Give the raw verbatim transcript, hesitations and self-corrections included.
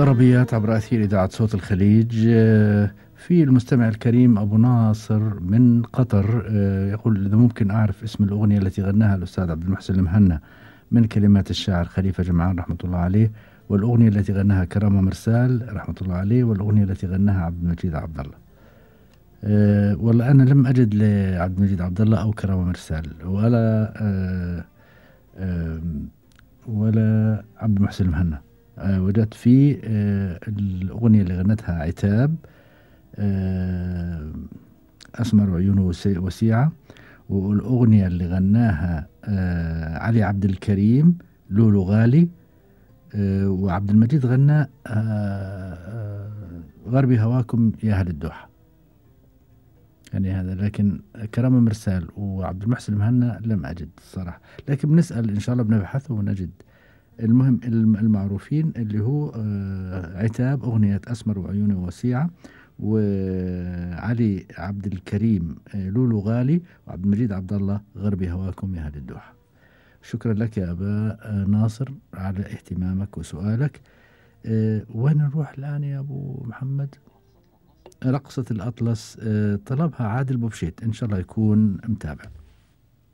طربيات عبر أثير إذاعة صوت الخليج. في المستمع الكريم أبو ناصر من قطر يقول إذا ممكن أعرف اسم الأغنية التي غناها الأستاذ عبد المحسن المهنا من كلمات الشاعر خليفة جمعان رحمة الله عليه، والأغنية التي غناها كرامة مرسال رحمة الله عليه، والأغنية التي غناها عبد المجيد عبد الله. أه والله أنا لم أجد لعبد المجيد عبد الله أو كرامة مرسال ولا أه أه ولا عبد المحسن المهنا. أه وجدت في أه الأغنية اللي غنتها عتاب، أه أسمر عيونه وسيعة، والأغنية اللي غناها أه علي عبد الكريم لولو غالي، أه وعبد المجيد غنى أه أه غربي هواكم يا أهل الدوحة. يعني هذا، لكن كرامة مرسال وعبد المحسن المهنا لم أجد الصراحة، لكن بنسأل إن شاء الله بنبحث ونجد. المهم المعروفين اللي هو عتاب أغنية أسمر وعيوني وسيعة، وعلي عبد الكريم لولو غالي، وعبد المجيد عبد الله غربي هواكم يا أهل الدوحة. شكرا لك يا أبا ناصر على اهتمامك وسؤالك. وين نروح الآن يا أبو محمد؟ رقصة الأطلس طلبها عادل بوبشيت، إن شاء الله يكون متابع.